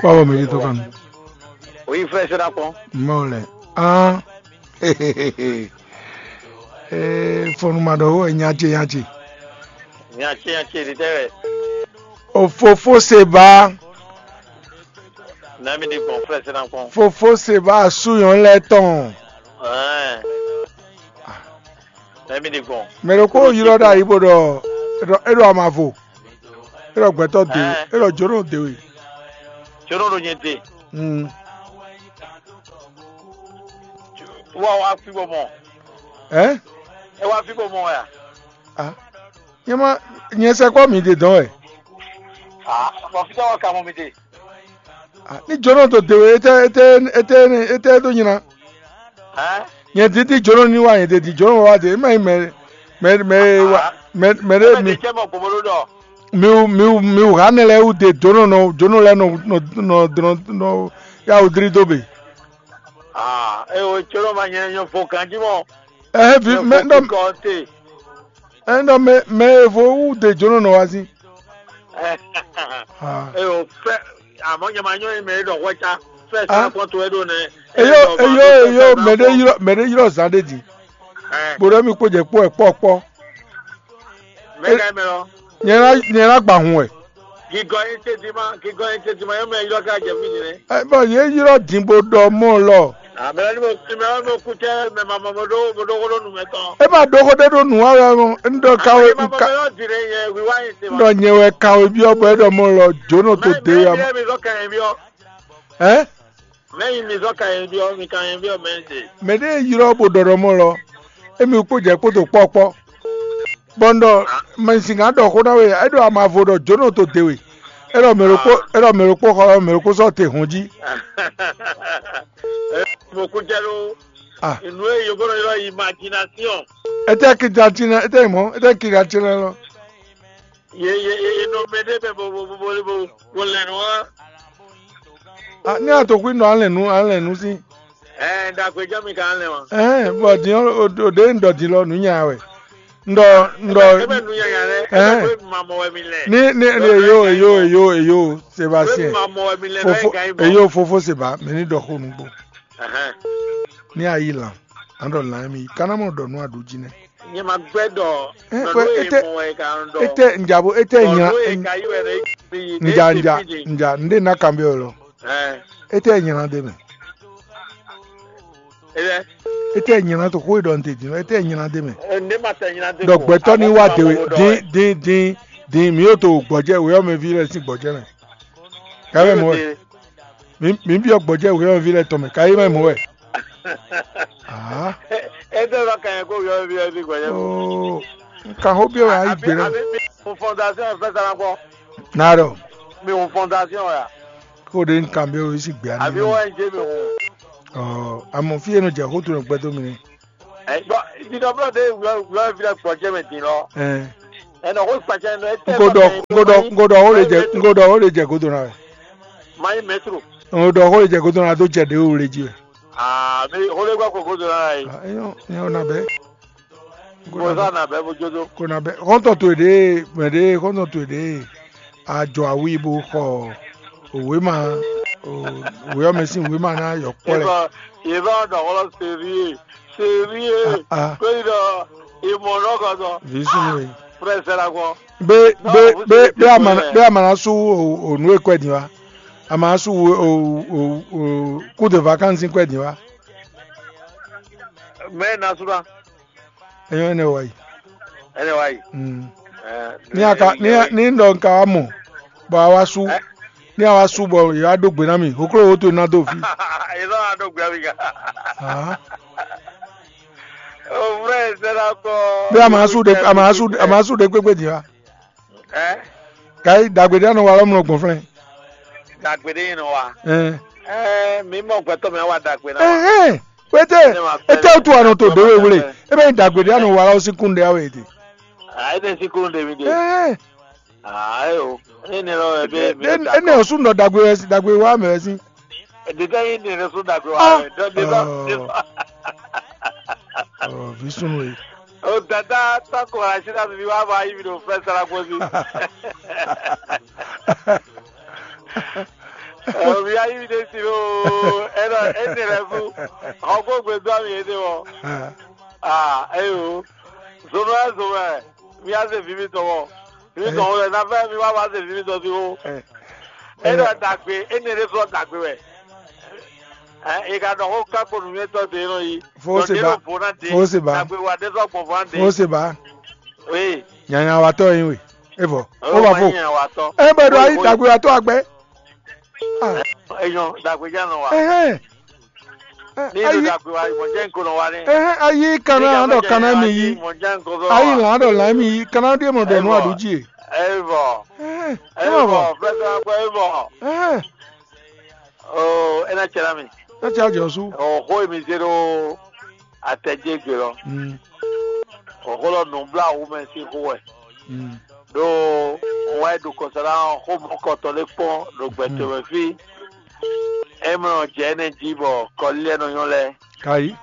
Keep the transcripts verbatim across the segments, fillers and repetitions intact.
Kpɔ́ bɔ mɛ ɖé tó kan. Oyi frɛ sɛ ɖa kpɔn. Mɔ lɛ. Ah. Eh, fɔnu ma ɖɔ wo nya ce nya ce. Nya ce nya ce ɖi tɛ wɛ. O fofo se ba. Na mi ɖi gbɔn frɛ sɛ ɖa kpɔn. Fofo se ba su yɔn lɛ tɔn. Ɛɛ. Na mi ɖi gbɔn. Mɛ ɖokpó ylɔ́ ɖo ayi bó ɖɔ é ɖɔ amavo. É ɖɔ gbɛtɔ́ de we. É ɖɔ jónɔ de we. Jónɔ ɖo nyɛ de. Mm. Wá wá fi bɔ mɔ. Ɛ? É wá fi bɔ mɔ ya. Ah. Nyɛ ma nyɛ sɛkpɔ mi de dɔn wɛ. Ah, bɔ fi tɔwɔ ka mɔ mi de. Ah, ní jónɔ tó de we, étɛ étɛ étɛ étɛ dó nyina. Ɛ? Nyɛ dídí jónɔ ní wa nyɛ de di jónɔ wa de, mɛ mɛ mɛ mɛ wa mɛ mɛ ɖe mi. Cɛ mɔ gbogbo ɖɔ. Mi wu mi wu mi wu ha nɛ lɛ wu de jónɔ nɔ jónɔ lɛ nɔ nɔ nɔ dɔn nɔ ya wu dri dó be. Ah, e o jónɔ ma nyɛ nyɔ fo ganji mɔ. Ɛ vi mɛ ɖɔ. Kɔ te. Ɛn ɖɔ mɛ mɛ evo wú de jónɔ nɔ wá sí. Ah. Eyo fɛ, àmọ́ nyɛ ma nyɔ mɛ e ɖɔ hwɛ ca fɛ sá kɔn to e ɖo nɛ. Eyo eyo eyo mɛ ɖe ylɔ mɛ ɖe ylɔ zan ɖe di. Ɛ. Bó ɖɔ mi kpó jɛ kpó ɛ kpɔ kpɔ. Mɛ ka mɛ lɔ. Nyɛ na nyɛ na gba hun wɛ. Gigɔ yin tedima gigɔ yin tedima yɔ mɛ ylɔ ka jɛ fi din nɛ. Ɛ bɔ yě ylɔ din bó ɖɔ mɔ lɔ. Amɛ ni mo ti mɛ mo ku tɛ mɛ ma mɔ mo ɖo mo ɖo xó ɖo nu mɛ tɔn. E ma ɖo xó ɖe ɖo nǔ wa wɛ mɔ, un ɖɔ kawe un ka ɖɔ nyɛ wɛ kawe byɔ́ bɔ é ɖɔ mɔ lɔ jónɔ to de ya mɔ. Ɛ? Mɛ yi mi zɔ ka yɛn byɔ́ mi ka yɛn byɔ́ mɛ de. Mɛ ɖe ylɔ bo ɖɔ ɖɔ mɔ lɔ, emi kpo jɛ kpo to kpɔkpɔ. Bɔ un ɖɔ mɛ sin kan ɖɔ xó ná we, é ɖo amavo ɖɔ jónɔ to de we. É ɖɔ mɛ ɖokpó é ɖɔ mɛ ɖokpó xɔ mɛ ɖokpó sɔ́ te hɔn jí. Mo kú jɛ ɖo Ah. Inú e yóbó nɔ ylɔ́ imagination. Ete kidatina ete mɔ ete kidatina lɔ. Ye ye ye ye nɔ mɛ ɖe bɛ bo bo bo bo bo bo lɛ nɔ wa. Ah, ní àtòkù nɔ alɛ nu alɛ nu sí. Ɛ dàgbé jẹ́ mi kan lɛ wa. Ɛ bɔ dín òde ń dɔ dín lɔ nù nya wɛ. Ń dɔ ń dɔ. Ebe nu nya nya lɛ. Ɛ. Ebe ma mɔ wɛ mi lɛ. Ní ní ní eyo eyo eyo eyo Sébastien. Ebe ma mɔ wɛ mi lɛ. Fofo eyo fofo Seba mɛ ní dɔ xó nugbo. Ní a yi lan, a ɖɔ lan émí, kaná mɔ ɖɔ nú a ɖu jí nɛ́. Nyɛ ma gbɛ́ ɖɔ Ɛ, nɔ wɛ, nú e ete, mɔ wɛ ka nɔ ɖɔ. Ete nja bo, ete Nɔ nyla, nú e ka yi wɛ nɔ yi nja, nja, nja, nɖe na kan bɛ lɔ. Ɛ, Ete nyla ɖe mɛ. Ɛ, Ete nyla to xó e ɖɔ n te din, ete nyla ɖe mɛ. Ɛ, nɖe ma tɛ nyla ɖe Ɖɔ ko. Gbɛtɔ ni Amɔ wa ma de mɔ we, ɖɔ din, wɛ. Din, din, din, mi yo to gbɔjɛ, we ɔmɛ vi lɛ sin gbɔjɛ mɛ. Ka wɛ mɔ wɛ. Ɖe. Mi mi biɔ gbɔjɛ wɛ ɔmɛ vi lɛ tɔn mɛ, ka yi mɛ mɔ wɛ. Ah. Ete lɔ ka nyɛ ko yɔ vi ɔmɛ vi gbɔjɛ. Oh. Nka ho biɔ wɛ ayi gbe lɛ. Àbí mi hun fondation ẹ̀ fẹ́ sara kpɔ. Na ɖɔ. Mi hun fondation ya. Ko ɖe nka biɔ wɛ si gbe ani. Àbí wọ́n ń jẹ́ mi hun. Ɔ, àmọ́ fi yẹn nɔ jẹ xó to nɔ gbɛdó mi ni. Ɛ gbɔ dídɔ blɔ de wlɔ wlɔ fi lɛ gbɔjɛ mɛ din lɔ. Ɛ. Ɛ nɔ ko kpacɛ nɔ etɛ. Nko dɔ nko dɔ nko dɔ o le jɛ nko dɔ o le jɛ godo na wɛ. Mayi mɛtro. Nko dɔ o le jɛ godo na do jɛ de o le ji wɛ. Aa mi o le gbɔ ko godo na yi. Eyɔ eyɔ na bɛ. Ko sa na bɛ bo jodo. Ko na bɛ xɔntɔ to de mɛ de xɔntɔ to de. Ajɔ awi bo xɔ wěma wě ɔ́ mɛ sín wěma ná yɔ kpɔ́ lɛ. Yebá yebá ɔ́ ɖɔ xlɔ́ serie serie Ah, ah. Kó yi ɖɔ imɔ nɔ kɔ sɔ Vǐ súnnu e. Frɛ sɛra kɔ. Bé bé bé bé ama bé ama ná sú o- o nǔ e kɔ ɛ din wá. Ama ná sú o o o o coup de vacances kɔ ɛ din wá. Mɛ na sú na. Enyo ene wa yi. Ene wa yi. Mm. Eh, Ni aka ni ni ni ndo nka wa mo. Bɔ a wa su. Eh? Ni a wa su bɔ ye wa do gbe na mi. Hoklo wo to na do fi. Ye lɔ a do gbe mi ga. Ah. O vrai c'est la ko. Bí a máa su de a máa su a máa su de gbégbé di wa. Ɛ? Ka yi dagbe ɖé anɔ wa lɔ mlɔ gbɔn flɛn. Dagbe ɖé yin nɔ wa. Ɛn. Ɛ mi mɔ gbɛtɔ mɛ wa dagbe na wa. Ɛhɛn. Pété. Ete o tu anɔ to ɖe wewle. Ebe yin dagbe ɖé anɔ wa lɔ si kun ɖe awe de. A ete si kun ɖe mi de. Ɛhɛn. Ayo. Ene lɔ ebe mi. Ene o su nɔ dagbe wɛ si dagbe wa mɛ wɛ si. Ɖeɖe yi ne ɖe so dagbe wa mɛ. Dɔ de dɔ. Ɔ vi sunu ye. O dada tɔkɔ asi na mi wa ba yi mi ɖo fɛ sara gbɔ si. Ɛ, mi yá yí mi ɖe si lo. Ɛ nɔ ɛ nɛ lɛ fú. Xɔ kó gbe dó ami yé ɖe wɔ. Ah, eyo. Zomɛ zomɛ. Mi yá se vi mi tɔn wɔ. Mi tɔn wɔ lɛ na fɛ mi wá wá se vi mi tɔn si wo. Ɛ nɔ dagbe ɛ nɛ lɛ sɔ dagbe wɛ. Ɛ e ka dɔ ko ká kpo nu mi tɔ de nɔ yi. Fo se ba. Fo se ba. Dagbe wa de sɔ gbɔn fɔ de. Fo se ba. Oui. Nyanya wa tɔ yin we. E vɔ. O ba fo. Nyanya wa tɔ. E bɛ do ayi dagbe wa tɔ agbɛ. Ah. Eyan dagbe ja nɔ wa. Ɛhɛn. Ní ìlú dàgbé wa ìmọ̀ jẹ́ nǹkan lọ wa ní. Ẹhẹn, ayi kana dɔ kana mi yi. Ìmọ̀ jẹ́ nǹkan lọ wa. Ayi lan dɔ lan mi yi kana de mɔ dɔ nu adu ji. Ẹ bọ̀. Ẹhẹn. Ẹ bọ̀. Fẹ́fẹ́ akpẹ́ ẹ bọ̀. Ẹhẹn. Ó, ẹ náà tsẹ náà mi. Ẹ tsẹ àjọ sú. Ó, xó èmi zé ɖó atɛjégbé lɔ. Mm. Ó, xó lɔ nǔbláwú mɛ sín xó wɛ. Mm. Ɖó wá yi ɖo kɔsɔ́ ná xó mɔkɔtɔ lé kpɔ́n ɖo gbɛtɔ́ mɛ fí. É mɔ jɛ énɛ́ jí bɔ kɔlí lɛ́ɛ nɔ nyɔ́ lɛ́ɛ. Kayi.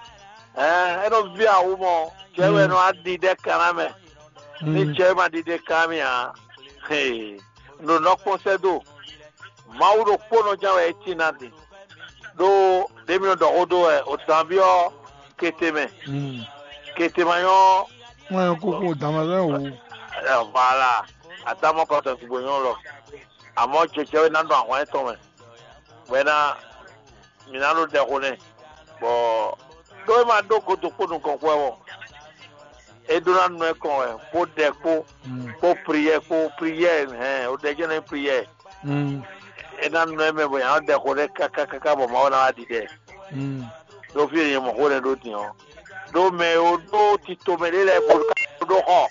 Ɛɛ, é nɔ ví awu mɔ, jɛ wɛ nɔ aɖi ɖɛ kanna mɛ. Ní jɛ ma ɖi ɖɛ kanna mì ǎ. Hee, nǔ nɔ kpɔ́n sɛ́ dó. Mawu ɖokpónɔ ján wɛ é cí ná din. Ɖó ɖě mi nɔ ɖɔ xó dó wɛ, o dǎn byɔ́ kete mɛ. Kete ma nyɔ́. Wọ́n yẹn kókó dǎnmazɔ́ yẹn wò. Voilà, àtàmọ́ kɔtɔ gbogbo nyɔ́ lɔ. Àmọ́ jɛjɛ wɛ ná ɖo ahwan tɔn mɛ. Bɔ é ná mi ná ɖo ɖɛ xo nɛ. Bɔ ɖó é ma ɖó godo kpó nukɔn xwɛ wɔ. É ɖó ná nɔ ɛ kɔn wɛ, kpó ɖɛ kpó, kpó priyɛ kpó priyɛ hɛn, o ɖɛ jɛ nɛ priyɛ. É ná nɔ ɛ mɛ bɔ yàn ɖɛ xo nɛ káká káká bɔ Mawu ná wá ɖiɖɛ. Ɖó fí e nyɛ mɔ xó nɛ ɖó din ɔ́, ɖó mɛ e ɖó tito mɛ ɖé lɛ́ɛ bó ɖó xɔ,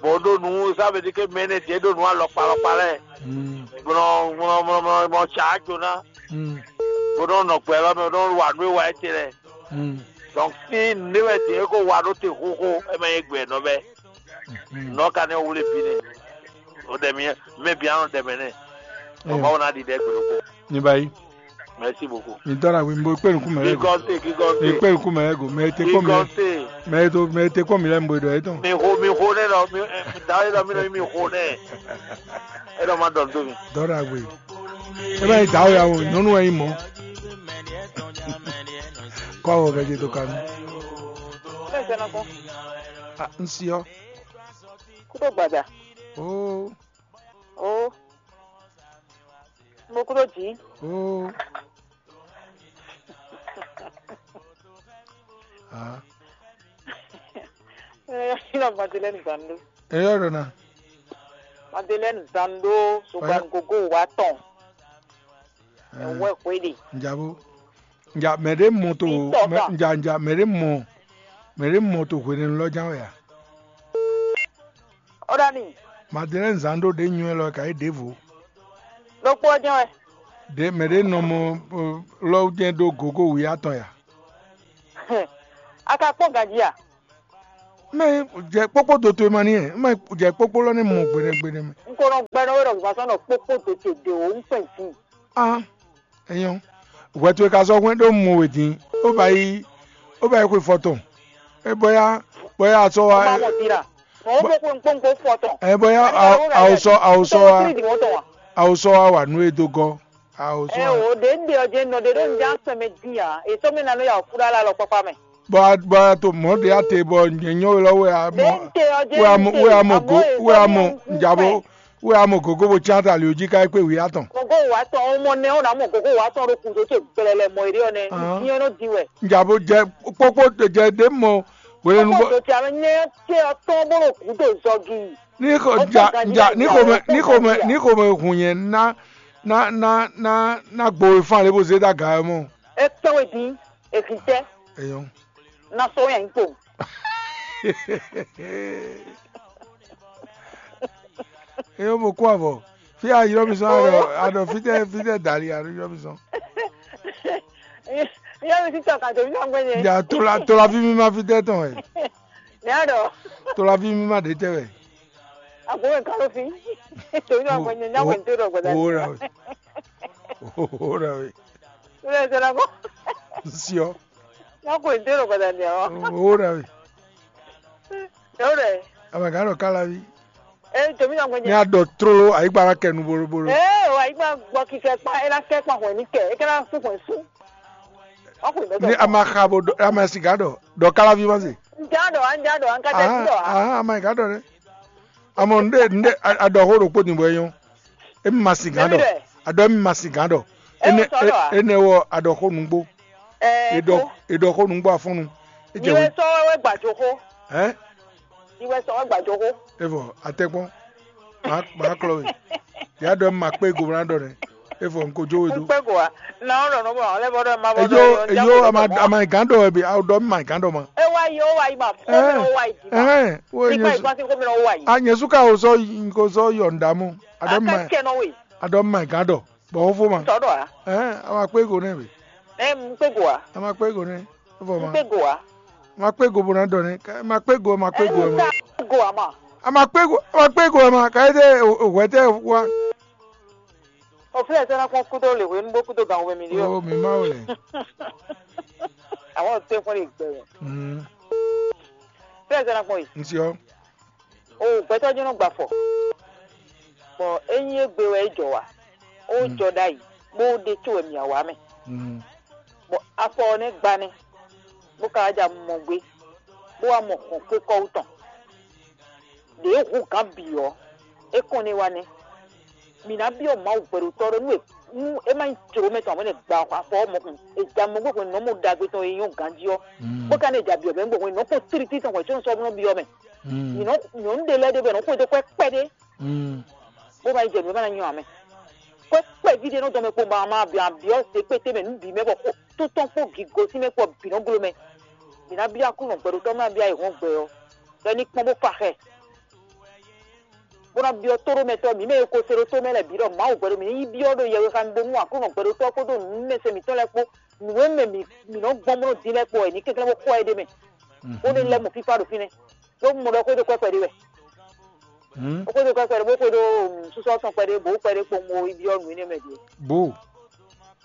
bó ɖó nǔ, ça veut dire que mɛ énɛ́ ɖě ɖó nǔ alɔkpa alɔkpa lɛ́ɛ, bó nɔ mɔ mɔ mɔ mɔ tsa ajo ná, bó nɔ nɔ gbɛ lɔ mɛ, bó nɔ wa nǔ e wa é te lɛ́ɛ. Donc fí nǔ e wɛ din é ko wa ɖó te xóxó, é mɛ nyí gbɛ nɔ bɛ́. Nɔ̌ ka nɛ́ wlé bí nɛ́? O ɖɛ mi mɛ bǐ anɔ ɖɛ mɛ nɛ́. Bɔ Mawu ná ɖi ɖɛ gbe ɖokpó. Ní báyìí. Merci beaucoup. Mi dɔn na wi, mo kpé nukú mɛ lɛ go. Kíkọ́ńté, kíkọ́ńté. Mi kpé nukú mɛ lɛ go. Mɛ te kpɔn mi lɛ. Kíkọ́ńté. Mɛ to mɛ te kpɔn mi lɛ mo dɔ etɔn. Mi xo, mi xo nɛ lɔ, mi da e lɔ mi nɔ mi xo nɛ. E lɔ ma dɔn do mi. Dɔn na wi. E ma yi da o ya o, nyɔnu wɛ yi mɔ. Kɔ o bɛ je to kanu. Bẹ́ẹ̀ sẹ́nà kọ́. Ah, n si ɔ. Kúrò gbàdà. Oh. Oh. Mo kúrò jí. Oh. Ah. Ina Madeleine Zando. Eyo dona. Madeleine Zando, Sugan Gogo Waton. Ewe kweli. Njabo. Nja mɛ ɖé mɔ to. Nja nja mɛ ɖé mɔ mɛ ɖé mɔ to hwenɛnu lɔ ján wɛ a? Ó ɖɔ n'i. Madeleine Zando ɖě nywɛ́ lɔ ka yí ɖěvo. Ɖokpó ɔ́ jɛ́n wɛ. Ɖě mɛ ɖě nɔ mɔ lɔ́ jɛ́n ɖó gǒgó wǐ atɔn ya. A ka kpɔ́n ganjí a? Mɛ jɛ kpókpó do towe ma ní ɛ, mɛ jɛ kpókpó lɔ ní mɔ gbeɖé gbeɖé mɛ. Un ko nɔ gbɛ nɔ wé ɖɔ gbasɔ nɔ kpókpó do ce ɖe o, un kpɛn zi. Ah, enyɔ. Hwɛ towe ka sɔ́ hwɛ́n ɖó mɔ wě dín, ó ba yi, ó ba yi xwe fɔ tɔn. É bɔ ya, bɔ ya sɔ́ wa. Ó ma mɔ dira. Mɔ ó bó kpónkpónkpó fɔ tɔn. Ɛ bɔ ya, awosɔ, awosɔ wa, awosɔ wa wa nú e dó gɔ́. Awosɔ wa. Ɛ o, ɖě un ɖe ɔ́ jɛ́n nɔ ɖe ɖó un ján sɛn mɛ dín ǎ. È sɔ́ mì ná nɔ ya wǔ kú ɖó alɔ kpákpá mɛ. Bɔ a bɔ a to mɔ̌ ɖě a te bɔ nyɛ nyɔ́ we lɔ we a mɔ we a mɔ we a mɔ go we a mɔ njabo we a mɔ gogo bo cyán ta ali jí ká kpé wǐ atɔn. Gogo wà tɔn ọmọ nẹ ó nà mọ gogo wà tɔn ɖo kùn tó ce gbɛlɛlɛ mɔ eré ɔnɛ nyɛ nɔ di wɛ. Njabo jɛ kpókpó jɛ ɖě mɔ wele nu. Kókó tó ce amɛ nyɛ ce ɔtɔn bó ɖo kùn tó zɔgi. Ní xɔ ja ja ní xɔ mɛ ní xɔ mɛ ní xɔ mɛ hùn nyɛ ná ná ná ná ná gbo e fán lé bó zé dá ga ɛ mɔ. E kpɛn we dín, e hìn tɛ. Eyɔn. Na so yẹn kpo. Eyɔn mo kó avɔ. Fi a yrɔ mi sɔn a ɖɔ a ɖɔ fitɛ fitɛ dali a ɖo yrɔ mi sɔn. Yɔ mi titɔ ka to mi sɔn gbɛ nyɛ. Ya tola tola fi mi ma fitɛ tɔn ɛ. Ne a ɖɔ. Tola fi mi ma ɖe tɛ wɛ. Agbo wɛ kalo fi. To mi sɔn gbɛ nyɛ nya wɛ n to ɖɔ gbɛ da. Owó ra wɛ. Owó ra wɛ. Wúlò ẹ̀ sọ̀rọ̀ kọ́. Siɔ. Wọ́n kò ní dérò padà ní ọ. Owó rẹ wɛ. Ewúrẹ́. Amagã ɖo kálaví. Ee, jǒmí nɔ gbɛjɛ. Ní a ɖɔ tlóló ayǐgba ná kɛ nu bolobo. Ee, o ayǐgba gbɔ kikɛ kpa, é ná kɛ kpa hwɛ̌ ní kɛ, é ká ná sú hwɛ̌ sú. Ɔ́ xwǐ mɛ Ní a ma xa bo ɖɔ, a ma siga ɖɔ, ɖɔ káláví ma se. Ŋjá ɖɔ, ŋjá ɖɔ, ŋká jɛ sí ɖɔ. Aha, a ma yi gǎ ɖɔ ɖɛ. Amɔ nɖe nɖe a ɖɔ xó ɖokpó din bɔ é nyɔ́. Emi ma sin gǎn ɖɔ. A ɖɔ emi ma sin gǎn ɖɔ. Ene ene wɔ a ɖɔ xó nǔgbó. Ɛ E ɖɔ e ɖɔ xó nǔgbó afɔnnu. E jɛ Iwe wɛ. Sɔ wɛ gbàjò xó. Hɛn. Iwe sɔ wɛ gbàjò xó. Evɔ atɛkpɔn. Ma ma klɔ we. Ya ɖɔ emi ma kpé go na ɖɔ nɛ. Evɔ n ko jó we do. Kpé go a? Na ɔ́ ɖɔ nɔ bɔ ɔ́ lɛ bɔ ɖɔ ma bɔ Eyo eyo ama ama gǎn ɖɔ wɛ bi. A ɖɔ emi ma gǎn ɖɔ ma. E wa yi o wa yi ma. Ko mi o wa yi di ma. Ɛhɛn. Wo Ti kpa nyɛ yi gbasi ko mi o wa yi. A nyɛ su ka o sɔ yi ko sɔ yɔ nda mu. A ɖɔ emi ma Aka kɛ nɔ we. A ɖɔ emi ma gǎn ɖɔ. Bɔ xófó ma. Sɔ ɖɔ a? Ɛhɛn. A ma kpé go nɛ we. Ɛ n kpé go a? A ma kpé go nɛ. Evɔ N ma. Kpé go a? A ma kpé go bo na ɖɔ nɛ. A ma kpé go, a ma kpé go. Ɛ n ka go a ma? A ma kpé go, a ma kpé go, a ma. Ka ete o hwɛ tɛ wa. O filɛ sɛ na kpɔn kudo le hwenu bó kudo gan wɛ mi ɖi o. O mi ma o lɛ. Àwọn tẹ fún le gbẹ. Mm. Filɛ sɛ na kpɔn yi. N siɔ. O gbɛtɔ jɔn nɔ gba fɔ. Bɔ enyi egbe wɛ e jɔ wa. O jɔ ɖ'ayǐ bó ɖe tó wɛ mǐ wa mɛ. Mm. Bɔ afɔ ɔ́ nɛ́ gba nɛ́, bó ka wá ja mɔ gbé, bó wá mɔ hɔn xwé kɔ́ wú tɔn. Ɖě hu gǎn bǐ ɔ́, é kɔn nɛ́ wá nɛ́. Mǐ ná byɔ́ Mawu hwɛɖotɔ́ ɖɔ nú e nú é má nyí jlǒ mɛ tɔn ǎ, mɛ nɛ gba afɔ ɔ́ mɔkun, è ja mɔ gbé hwenu nɔ́ mɔ ɖagbe tɔn e nyɔ́ ganjí ɔ́, bó ka nɛ́ ja byɔ̌ mɛ gbɔn hwenu nɔ́ kpɔ́n tlítlí tɔn hwɛ̌ có nɔ sɔ́ nɔ byɔ́ mɛ. Mǐ nɔ nyɔ̌nu ɖé lɛ́ɛ ɖé bɔ è nɔ xwedó kwɛ́ kpɛɖé, bó ma yi jɛ nǔ e ma ná nyɔ ǎ mɛ. Kwɛ́ kpɛví ɖé nɔ dɔn mɛ kpo ma ma byɔ́ byɔ́ zě kpété mɛ nǔ bǐ mɛ bɔ xó tó tɔn kpó gǐgosín mɛ kpó bǐ nɔ glo mɛ. Mǐ ná byɔ́ Aklúnɔ gbɛɖotɔ́ ma byɔ́ ayǐhɔ́ngbe ɔ́, bɔ é ní kpɔ́n bó fa xɛ. Bó ná byɔ́ tóɖómɛtɔ́ mǐ mɛ e ko se ɖó tó mɛ lɛ́ɛ bǐ ɖɔ Mawu hwɛɖo mǐ ní yi byɔ́ ɖo yɛhwexa mi bónú Aklúnɔ hwɛɖotɔ́ kpódó nǔmɛsɛn mǐtɔn lɛ́ɛ kpó nǔ e mɛ mǐ mǐ nɔ gbɔn bó nɔ din lɛ́ɛ kpó wɛ è ní kɛnklɛ́n bó xɔ ɛ ɖ'é mɛ, bó ní lɛ́ mɔ fífá ɖo fínɛ́. Ɖó un mɔ ɖɔ xwédo kwɛ́ kpɛɖé wɛ. Ó xwédo kwɛ́ kpɛɖé bó xwédo nǔsúsú tɔn kpɛɖé bó kpɛɖé kpowun bo yi byɔ́ nǔ énɛ́ mɛ din. Bó.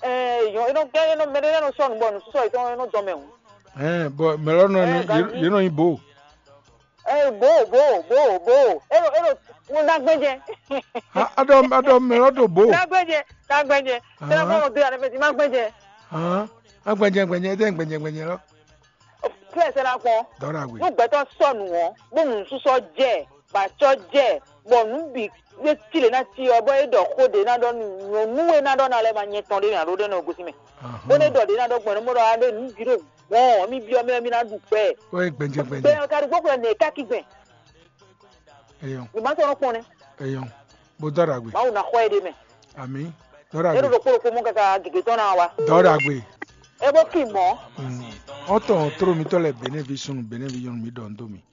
Ɛɛ yɔn é nɔ é nɔ mɛ ɖé lɛ́ɛ nɔ sɔ́ nǔ bɔ nǔsúsú yětɔn é nɔ dɔn mɛ hǔn. Ɛɛ bɔ mɛ lɔ nɔ Ɛɛ, yě ganjí. Yě nɔ nyi bó. Ɛ bo bo bo bo elo elo ŋun ná gbɛjɛ. A ɖɔ a ɖɔ mɛ lɔ ɖo bó. Ná gbɛjɛ ná gbɛjɛ. Tẹ́lẹ̀ kọ́ ọ̀rọ̀ bí ara fẹ́ ti má gbɛjɛ. Hàn á gbɛjɛ gbɛjɛ dɛ gbɛjɛ gbɛjɛ lɔ. Fúlẹ̀ sẹ́nà kpɔn. Dɔwɔɖa gbe. Nú gbɛtɔ sɔnu ɔ bó nu susɔ jɛ bàtsɔ jɛ bɔ nú bì wé tile ná ti ɔ bɔ é ɖɔ xó ɖe ná ɖɔ nú nyɔnu wé ná ɖɔ ná lɛ ma nyɛ tɔn ɖé mɛ alo ɖé nɔ gosi mɛ. Bó ne ɖɔ ɖe ná ɖɔ gbɔn nú mɔ ɖɔ aɖé nú bì ɖo gbɔn mi byɔ mɛ mi ná ɖu gbɛ. Ó yẹ gbɛjɛ gbɛjɛ. Gbɛ ka ɖu gbɔkplɔ nɛ ká ki gbɛ. Eyɔn. Mi ma sɔn kpɔn nɛ. Eyɔn. Bó dɔwɔɖa gbe. Mawu na xɔ ɛ ɖe mɛ. Ami. Dɔwɔɖa gbe. E ɖo ɖokpo ɖokpo mɔ kaka gègé tɔn na wa. Dɔwɔɖa gbe. E bó ki mɔ. Ɔtɔn tló mitɔ lɛ Benin vi sunu Benin vi nyɔnu mi ɖɔ ndo mi.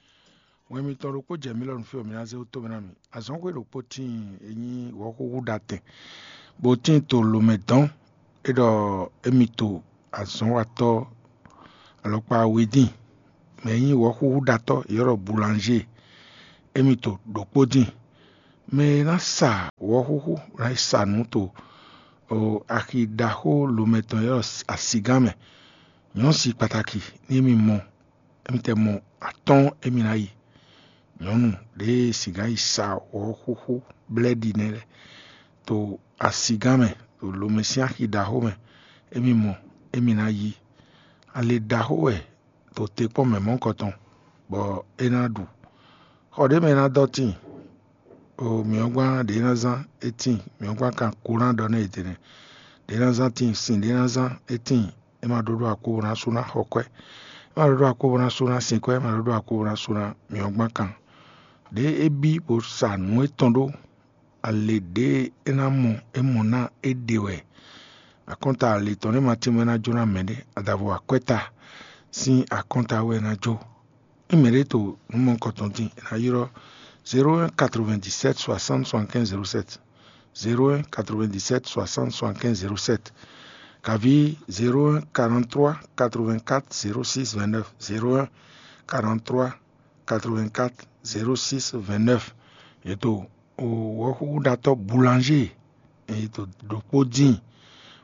Wɛn mitɔn ɖokpo jɛ mi lɔ nu fi mi ná zé wótó mi ná mi. Azɔnxwé ɖokpo tíin e nyí wɔ̌xúxú ɖatɛn, bó tíin to lomɛ dɔn. É ɖɔ émi to azɔ̌nwatɔ́ alɔkpa we dín, mɛ e nyí wɔ̌xúxúɖatɔ́ yě ɖɔ Boulanger, émi to ɖokpó dín. Mɛ e ná sa wɔ̌xúxú ná yi sa nǔ to axi ɖaxó lomɛ tɔn yě ɖɔ asigán mɛ. Nyɔ̌si kpataki ní émi mɔ, émi tɛ mɔ atɔ́ɔ́n émi ná yi. Nyɔ̌nu ɖě e sigán yi sa wɔ̌xúxú blɛ́ɖi nɛ́ lɛ́ɛ to asigán mɛ, ɖo lomɛ sín axi ɖaxó mɛ, émi mɔ, émi ná yí. Ali ɖaxó wɛ ɖo te kpɔ́n mɛ mɔ̌hunkɔtɔn, bɔ é ná ɖu. Xɔ ɖě mɛ é ná dɔ́ tíin, o mǐ ɔ́ gbán ɖě ná zán é tíin, mǐ ɔ́ gbán kan kó ná ɖɔ nú yědɛɛ nɛ́. Ɖě ná zán tíin, sin ɖě ná zán é tíin, é ma ɖó ɖó akpó bó ná sú ná xɔ kwɛ́. É ma ɖó ɖó akpó bó ná sú ná sin kwɛ́, é ma ɖó ɖó akpó bó ná sú ná mǐ ɔ́ gbán kan. Ɖěe é bí bó sa nǔ étɔn ɖó, ale ɖě é ná mɔ é mɔ ná é ɖe wɛ. Akɔ́nta ale tɔn nɛ́ ma tínmɛ ná jó ná mɛɖé, adavo akwɛ́ta sín akɔ́nta wɛ é ná jó. Ényí mɛɖé to nǔ mɔ̌hunkɔtɔn din, è nǎ ylɔ́ zéro un quatre-vingt-dix-sept soixante soixante-quinze zéro sept, zéro un quatre-vingt-dix-sept soixante soixante-quinze zéro sept, kaví zéro un quarante-trois quatre-vingt-quatre zéro six vingt-neuf, zéro un quarante-trois quatre-vingt-quatre zéro six vingt-neuf. È to wɔ̌xúxúɖatɔ́ Boulanger, è to ɖokpó dín,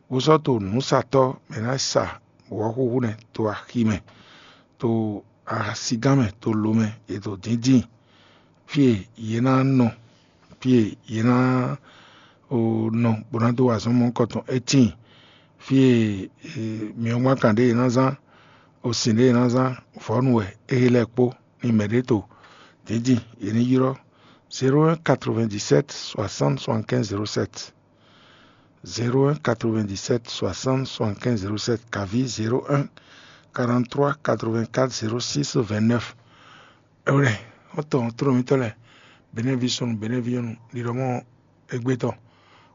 bó sɔ́ to nǔsatɔ́ mɛ ná sa wɔ̌xúxú nɛ́ to axi mɛ, to asigán mɛ, to lo mɛ, è to dǐndín fí e yě ná nɔ fí e yě ná nɔ bó ná dó wa azɔn mɔ̌hunkɔtɔn. É tíin fí e myɔgbánkan ɖé yě ná zán, osin ɖé yě ná zán, vɔ̌nu wɛ, éhe lɛ́ɛ kpó, ni mɛɖé to dǐndín yě ní ylɔ́. Zéro un quatre-vingt-dix-sept soixante soixante-quinze zéro sept. Zéro un quatre-vingt-dix-sept soixante soixante-quinze zéro sept, kaví zéro un quarante-trois quatre-vingt-quatre zéro six vingt-neuf. Ɛwlɛ, xɔ́ntɔn tlólɔmítɔ́ lɛ́ɛ, Benɛ́ví súnnu, Benɛ́ví nyɔ́nu, ɖiɖɔ mɔ égbé tɔn,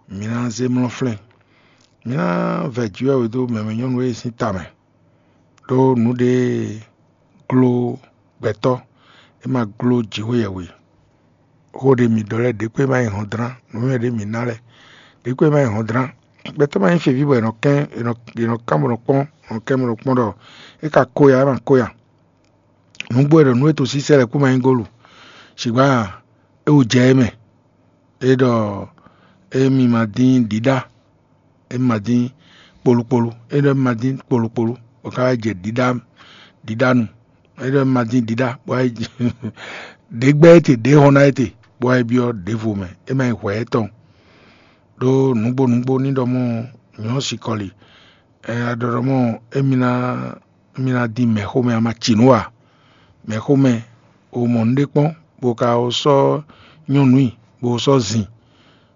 mi ná zé mlɔ́ flɛ́n. Mi ná vɛ jǐ wɛ dó mɛmɛ nyɔ́nu e sín ta mɛ, ɖó nǔɖé gló gbɛtɔ́, é ma gló jǐxwé yɛhwe. Xó ɖé mi ɖɔ lɛ́ɛ, ɖěkpé ma nyí hɔndrán, nǔnywɛ́ ɖé mi ná lɛ́ɛ, ɖěkpé ma nyí hɔndrán. Gbɛtɔ́ ma nyí feví bɔ è nɔ kɛn, è nɔ è nɔ kán bɔ nɔ kpɔ́n, è nɔ kɛn bɔ nɔ kpɔ́n ɖɔ é ka kó ya, é ma kó ya. Nǔgbó è ɖɔ nǔ e to sísɛ́ lɛ́ɛ kú ma nyí gólu. Sigba é wú jɛ é mɛ. É ɖɔ émí ma dín ɖiɖá, émí ma dín kpolukpolu, é ɖɔ émí ma dín kpolukpolu, bɔ ká wá jɛ ɖiɖá ɖiɖánu. É ɖɔ émí ma dín ɖiɖá, bɔ wá yi ɖě gbɛ́ étè, ɖě hɔn ná étè, bɔ wá yi byɔ́ ɖěvo mɛ. É ma nyí hwɛ̌ étɔn. Ɖó nǔgbó nǔgbó ní ɖɔ mɔ nyɔ̌ sikɔli. Ɛ a ɖɔ ɖɔ mɔ émí ná émí ná dín mɛ̌xomɛ a ma ci nǔ ǎ. Mɛ̌xomɛ o mɔ nǔɖé kpɔ́n, bó ka o sɔ́ nyɔ́nu i, bó o sɔ́ zin,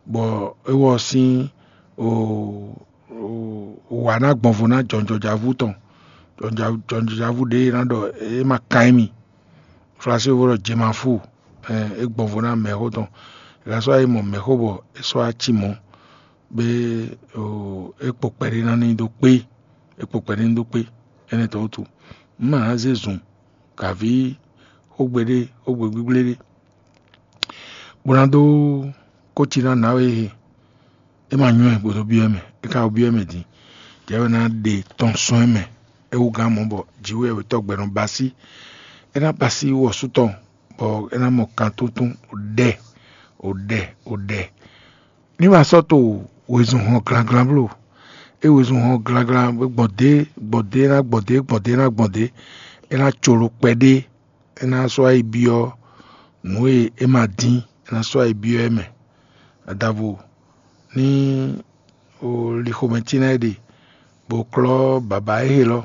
bɔ é wɔ sín o wǎ ná gbɔnvo ná jɔnjɔjǎvú tɔn. Jɔnjɔjǎvú ɖě e ná ɖɔ é ma kan émí. Flasu e wó ɖɔ jemafú, é gbɔnvo ná mɛ̌xó tɔn. È ka sɔ́ yi mɔ mɛ̌xó bɔ é sɔ́ wá cí mɔ̌, bɔ é kpo kpɛɖé ná ní dó kpé, é kpo kpɛɖé ní dó kpé. Énɛ́ tɔn wútu, un ma ná zé zun kaví xógbe ɖé, xógbe gbígbléɖé, bó ná dó kóci ná nǎwe e é ma nywɛ́ bó dó byɔ́ ɛ mɛ. É ka byɔ́ ɛ mɛ din, jɛ̌ é ná ɖe tɔn sɔ́n ɛ mɛ. É wú gán mɔ̌ bɔ jǐwɛ́wɛ́tɔ́ gbɛ nɔ ba sí. É ná ba sí wɔ̌sú tɔn, bɔ é ná mɔ kan túntún, ɖɛ, o ɖɛ, o ɖɛ. Ní ma sɔ́ to wezun hɔn glanglan bló. É wezun hɔn glanglan gbɔn dě gbɔn dě ná gbɔn dě gbɔn dě ná gbɔn dě. É ná colo kpɛɖé. É ná sɔ́ yi byɔ́ nǔ e é ma dín, é ná sɔ́ yi byɔ́ ɛ mɛ. Adavo ní o li xomɛtín ná é ɖe, bó klɔ́ bǎbá é helɔ́,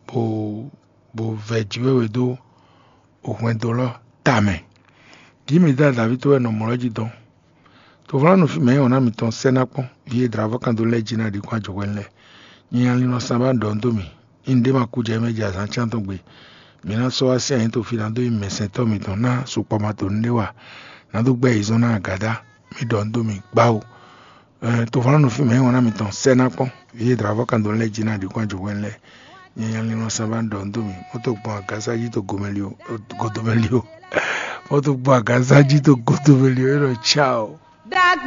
bó bó vɛ jǐwɛ́wɛ dó o hwɛndo lɔ́ tamɛ. Jǐ mi dá Davíd wɛ nɔ mɔ̌ lɔ́ jí dɔn. Tovlánú fí mɛ nyí wɔ̌n ná mitɔn sɛ́ ná kpɔ́n, vǐ e dlǎvɔ́ kan dó lɛ́ɛ jí ná ɖi kún ajɔ̌hwɛ́nú lɛ́ɛ. Nyɛ nya linlɔn sán bá ɖɔ dó mì, ényí ɖé ma kú jɛ mɛ jɛ azǎn cán tɔn gbe. Mi ná sɔ́ wá sí anyǐ to fí ná dó nyi mɛsɛntɔ́ mitɔn ná sukpɔ́ ma to nǔɖé wa, ná dó gbɛ́ yǐzɔ́n ná agǎdá. Mi ɖɔ dó mì gbáwu. Tovlánú fí mɛ nyí wɔ̌n ná mitɔn sɛ́ ná kpɔ́n, vǐ e dlǎvɔ́ kan dó lɛ́ɛ jí ná ɖi kún ajɔ̌hwɛ́nú lɛ́ɛ. Nyɛ nya linlɔn sán bá ɖɔ dó mì, mɔ́ tó gbɔn agǎsá jí to gomɛli o, godomɛli o. Mɔ́ tó gbɔn agǎsá jí to godomɛli o, é ɖɔ tchao.